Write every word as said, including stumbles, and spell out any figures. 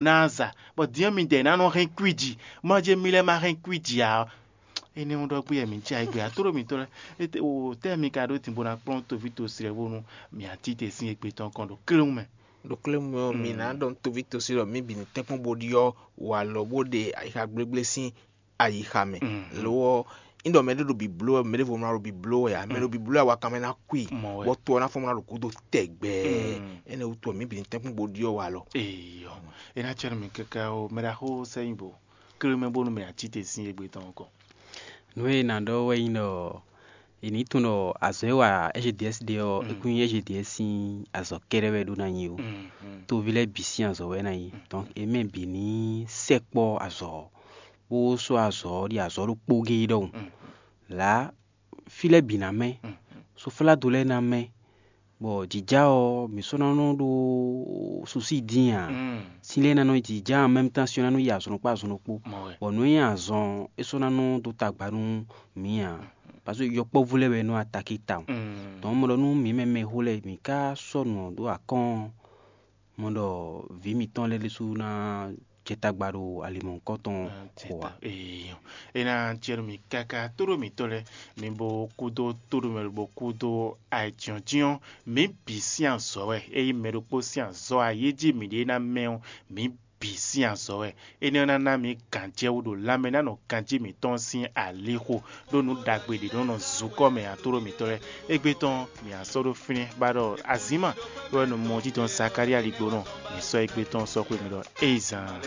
ná za, bɔ din ɔ́ mi dɛ ná nɔ hɛn kwíji, mɔ jɛ mi lɛ́ ma hɛn kwíji ǎ. Énɛ́ ɔ́ ɖɔ gbé mǐ jɛ ayǐ gbe atóɖo mǐtɔn lɛ́ɛ. Étɛ́ mi ka ɖó din bó ná kplɔ́n toví tosi lɛ́ɛ bónú mǐ ǎ tite sín égbé tɔn kɔn ɖo kléwún mɛ. Ɖo kléwún mɛ ɔ́, mǐ ná ɖɔ nú toví tosi ɖɔ mǐ bǐ ní tɛ́nkpɔ́n bó ɖyɔ́ walɔ bó ɖe ayixa gblégblé sín ayixa mɛ. Lo ɔ́, un ɖɔ mɛ ɖé ɖo bǐbló wɛ, mɛ ɖěvo ná ɖo bǐbló wɛ ǎ. Mɛ ɖo bǐbló wɛ awakan mɛ ná kú i, bɔ to ɔ́ ná fɔ́n ná ɖo gǔdo tɛgbɛ. Énɛ́ wútu ɔ, mǐ bǐ ní tɛ́nkpɔ́n bó ɖyɔ́ walɔ. Eyɔ, é ná cɛ nú mì káká ó, mɛ ɖaxó sɛ́ nyi bo klé mɛ bónú mɛ ǎ tite sín égbé tɔn kɔn. Nǔ e è nǎ ɖɔ wɛ nyí ɖɔ è nǐ tunwun ɖɔ azɔ̌ e wa S G D S ɖe ɔ́, é kún nyí S G D S sín azɔ̌ kɛ́ɖɛ́ wɛ ɖó ná nyí ó. Toví lɛ́ɛ bǐ sín azɔ̌ wɛ ná nyí. Donc é mɛ bǐ ní sɛkpɔ́ azɔ̌ ɔ́, bó sɔ́ azɔ̌ ɔ́ ɖi azɔ̌ ɖokpó géé ɖɔhun. Lǎ fí lɛ́ɛ bǐ ná mɛ, sofládo lɛ́ɛ ná mɛ, bɔ jǐjá ɔ́, mǐ sɔ́ ná nɔ ɖó susí dín ǎ. Sín lɛ́ɛ ná nɔ jǐjá en même temps, sín ɔ́ ná nɔ yi azɔn ɖokpó azɔn ɖokpó. Bɔ nǔ e nyí azɔn é sɔ́ ná nɔ dó tagba nú mǐ ǎ. Parce que yɔkpɔ́vú lɛ́ɛ wɛ nɔ atakí tawun. Donc mɔ ɖɔ nú mǐ mɛ mɛxó lɛ́ɛ mǐ ka sɔ́ nǔ ɔ́ ɖó akɔ́n, mɔ ɖɔ vǐ mǐtɔn lɛ́ɛ ɖésú ná jɛ tagba ɖo ali mɔ̌hunkɔtɔn xo ǎ. Ee, é ná jɛ nú mì káká tóɖó mǐtɔn lɛ́ɛ, mi bo kúdó tóɖó mɛ bo kúdó ayǐjínjɔ́n, mǐ bǐ sín azɔ̌ wɛ. Ényí mɛ ɖokpó sín azɔ̌ ayéjí mǐɖée ná mɛ ɔ́, mǐ bǐ sín azɔ̌ wɛ. Énɛ́ ɔ́ ná ná mǐ gǎnjɛwú ɖo lanmɛ ná nɔ ganjí mǐtɔn sín alixo, ɖó nǔ ɖagbe ɖě nɔ nɔ zukɔ́ mɛ atóɖó mǐtɔn lɛ́ɛ. Égbé tɔn mǐ á sɔ́ ɖó fínɛ́ bá ɖɔ azǐnma wɛ nɔ mɔ jínjɔ́n Zakalía ligbonɔ, mǐ sɔ́ égbé tɔn sɔ́ xwé mì ɖɔ éyi zán.